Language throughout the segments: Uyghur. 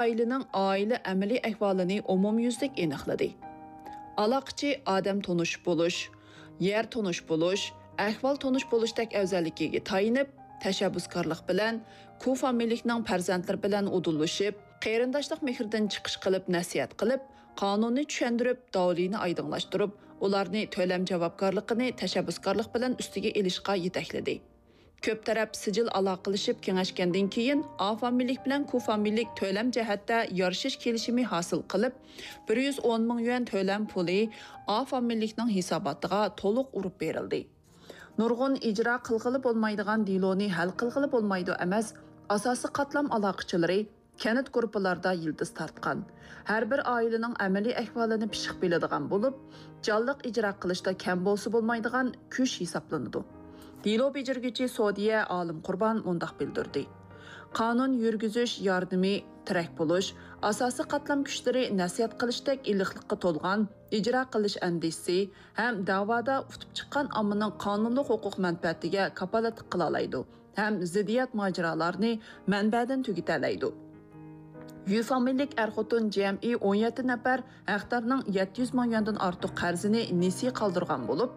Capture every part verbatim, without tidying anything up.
ئائىلىنىڭ ئائىلە ئەمەلىي ئەھۋالىنى ئومۇميۈزلۈك ئېنىقلىدى. ئالاقىچى ئادەم تونۇش بولۇش، يەر تونۇش بولۇش، ئەھۋال تونۇش بولۇشتەك ئەۋزەللىكىگە تايىنىپ، تەشەببۇسكارلىق بىلەن كۇ فامىلىلىكنىڭ پەرزەنتلىرى بىلەن ئۇدۇللىشىپ، قېرىنداشلىق مېھرىدىن چىقىش قىلىپ نەسىھەت قىلىپ، قانۇننى چۈشەندۈرۈپ، داۋلىنى ئايدىڭلاشتۇرۇپ، ئۇلارنى تۆلەم جاۋابكارلىقىنى تەشەببۇسكارلىق بىلەن ئۈستىگە ئېلىشقا يېتەكلىدى. كۆپ تەرەپ سىجىل ئالاقىلىشىپ كېڭەشكەندىن كېيىن، ئا فامىلىلىك بىلەن كۇ فامىلىلىك تۆلەم جەھەتتە يارىشىش كېلىشىمى ھاسىل قىلىپ، بىر يۈز ئون مىڭ يۈەن تۆلەم پۇلى ئا فامىلىلىكنىڭ ھېساباتىغا تولۇق ئۇرۇپ بېرىلدى. نۇرغۇن ئىجرا قىلغىلى بولمايدىغان دېلونى ھەل قىلغىلى بولمايدۇ ئەمەس، ئاساسىي قاتلام ئالاقىچىلىرى كەنت گۇرۇپپىلاردا يىلتىز تارتقان، ھەر بىر ئائىلىنىڭ ئەمەلىي ئەھۋالىنى پىششىق بىلىدىغان بولۇپ، جانلىق ئىجرا قىلىشتا كەم بولسا بولمايدىغان كۈچ ھېسابلىنىدۇ. دېلو بېجىرگۈچى سودىيە ئالىم قۇربان مۇنداق بىلدۈردى: قانۇن يۈرگۈزۈش ياردىمى، تىرەك بولۇش، ئاساسىي قاتلام كۈچلىرى نەسىھەت قىلىشتەك ئىللىقلىققا تولغان ئىجرا قىلىش ئەندىزىسى ھەم دەۋادا ئۇتۇپ چىققان ئاممىنىڭ قانۇنلۇق ھوقۇق مەنپەئەتىگە كاپالەتلىك قىلالايدۇ ھەم زىددىيەت ماجىرالارنى مەنبەدىن تۈگىتەلەيدۇ. يۈ فامىلىلىك ئەر-خوتۇن جەمئىي ئون يەتتە نەپەر ھەقدارنىڭ يەتتە يۈز مىڭ يۈەندىن ئارتۇق قەرزىنى نېسى قالدۇرغان بولۇپ،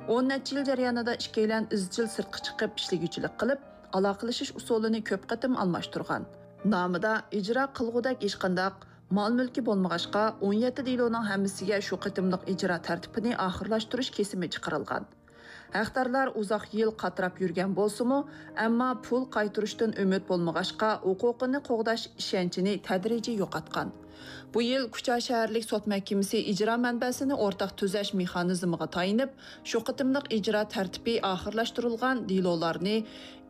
ئون نەچچە يىل جەريانىدا ئىككىيلەن ئىزچىل سىرتقا چىقىپ ئىشلىگۈچىلىك قىلىپ، ئالاقىلىشىش ئۇسۇلىنى كۆپ قېتىم ئالماشتۇرغان. نامىدا ئىجرا قىلغۇدەك ھېچقانداق مال-مۈلكى بولمىغاچقا، ئون يەتتە دېلونىڭ ھەممىسىگە شۇ قېتىملىق ئىجرا تەرتىپىنى ئاخىرلاشتۇرۇش كېسىمى چىقىرىلغان. ھەقدارلار ئۇزاق يىل قاتراپ يۈرگەن بولسىمۇ، ئەمما پۇل قايتۇرۇشتىن ئۈمىد بولمىغاچقا، ھوقۇقىنى قوغداش ئىشەنچىنى تەدرىجىي يوقاتقان. بۇ يىل كۇچا شەھەرلىك سوت مەھكىمىسى ئىجرا مەنبەسىنى ئورتاق تۈزەش مېخانىزمىغا تايىنىپ، شۇ قېتىملىق ئىجرا تەرتىپى ئاخىرلاشتۇرۇلغان دېلولارنى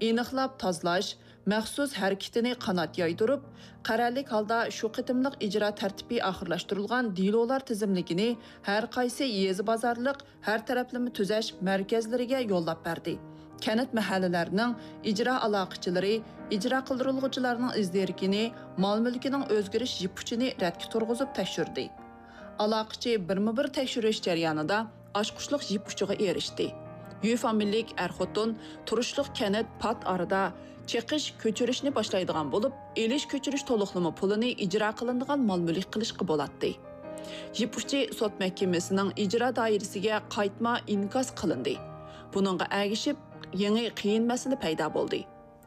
ئېنىقلاپ تازىلاش، مەخسۇس ھەرىكىتىنى قانات يايدۇرۇپ، قەرەللىك ھالدا شۇ قېتىملىق ئىجرا تەرتىپى ئاخىرلاشتۇرۇلغان دېلولار تىزىملىكىنى ھەر قايسى يېزا بازارلىق ھەر تەرەپلىمە تۈزەش مەركەزلىرىگە يوللاپ بەردى. كەنت، مەھەللىلەرنىڭ ئىجرا ئالاقىچىلىرى ئىجرا قىلدۇرۇلغۇچىلارنىڭ ئىز دېرىكىنى، مال-مۈلكىنىڭ ئۆزگىرىش يىپ ئۇچىنى رەتكە تۇرغۇزۇپ تەكشۈردى. ئالاقىچى بىرمۇ بىر تەكشۈرۈش جەريانىدا ئاچقۇچلۇق يىپ ئۇچىغا ئېرىشتى. يۈ فامىلىلىك ئەر-خوتۇن تۇرۇشلۇق كەنت پات ئارىدا چېقىش، كۆچۈرۈشنى باشلايدىغان بولۇپ، ئېلىش-كۆچۈرۈش تولۇقلىما پۇلىنى ئىجرا قىلىنىدىغان مال-مۈلۈك قىلىشقا بولاتتى. يىپ ئۇچى سوت مەھكىمىسىنىڭ ئىجرا دائىرىسىگە قايتما ئىنكاس قىلىندى. بۇنىڭغا ئەگىشىپ، يېڭى قىيىن مەسىلە پەيدا بولدى.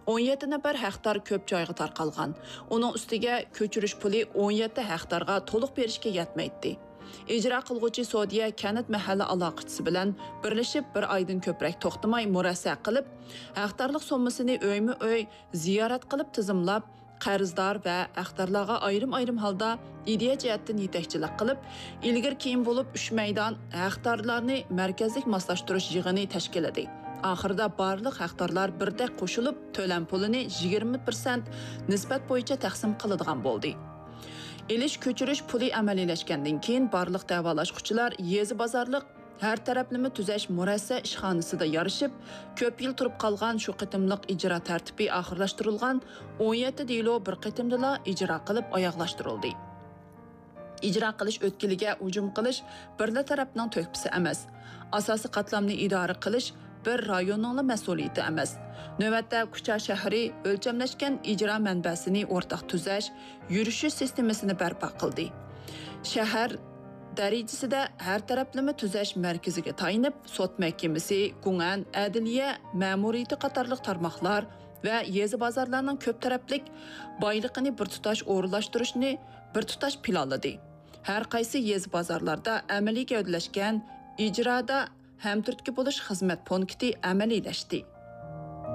ئون يەتتە نەپەر ھەقدار كۆپ جايغا تارقالغان. ئۇنىڭ ئۈستىگە كۆچۈرۈش پۇلى ئون يەتتە ھەقدارغا تولۇق بېرىشكە يەتمەيتتى. ئىجرا قىلغۇچى سودىيە كەنت مەھەللە ئالاقىچىسى بىلەن بىرلىشىپ، بىر ئايدىن كۆپرەك توختىماي مۇرەسسە قىلىپ، ھەقدارلىق سوممىسىنى ئۆيمۇ ئۆي زىيارەت قىلىپ تىزىملاپ، قەرزدار ۋە ھەقدارلارغا ئايرىم-ئايرىم ھالدا ئىدىيە جەھەتتىن يېتەكچىلىك قىلىپ، ئىلگىرى-كېيىن بولۇپ ئۈچ مەيدان ھەقدارلارنى مەركەزلىك ماسلاشتۇرۇش يىغىنى تەشكىللىدى. ئاخىرىدا بارلىق ھەقدارلار بىردەك قوشۇلۇپ، تۆلەم پۇلىنى يىگىرمە پىرسەنت نىسبەت بويىچە تەقسىم قىلىدىغان بولدى. ئېلىش-كۆچۈرۈش پۇلى ئەمەلىيلەشكەندىن كېيىن، بارلىق دەۋالاشقۇچىلار يېزا بازارلىق ھەر تەرەپلىمە تۈزەش مۇرەسسە ئىشخانىسىدا يارىشىپ، كۆپ يىل تۇرۇپ قالغان شۇ قېتىملىق ئىجرا تەرتىپى ئاخىرلاشتۇرۇلغان ئون يەتتە دېلو بىر قېتىمدىلا ئىجرا قىلىپ ئاياغلاشتۇرۇلدى. ئىجرا قىلىش ئۆتكىلىگە ھۇجۇم قىلىش بىرلا تەرەپنىڭ تۆھپىسى ئەمەس. ئاساسىي قاتلامنى ئىدارە قىلىش بىر رايوننىڭلا مەسئۇلىيىتى ئەمەس. نۆۋەتتە كۇچا شەھىرى ئۆلچەملەشكەن ئىجرا مەنبەسىنى ئورتاق تۈزەش، يۈرۈشۈش سىستېمىسىنى بەرپا قىلدى. شەھەر دەرىجىسىدە ھەر تەرەپلىمە تۈزەش مەركىزىگە تايىنىپ، سوت مەھكىمىسى، گۇڭئەن، ئەدلىيە مەمۇرىيىتى قاتارلىق تارماقلار ۋە يېزا بازارلارنىڭ كۆپ تەرەپلىك بايلىقىنى بىر تۇتاش ئورۇنلاشتۇرۇشنى بىر تۇتاش پىلانلىدى. ھەر قايسى يېزا بازارلاردا ئەمەلىي گەۋدىلەشكەن ئىجرادا ھەمتۈرتكە بولۇش خىزمەت پونكىتى ئەمەلىيلەشتى.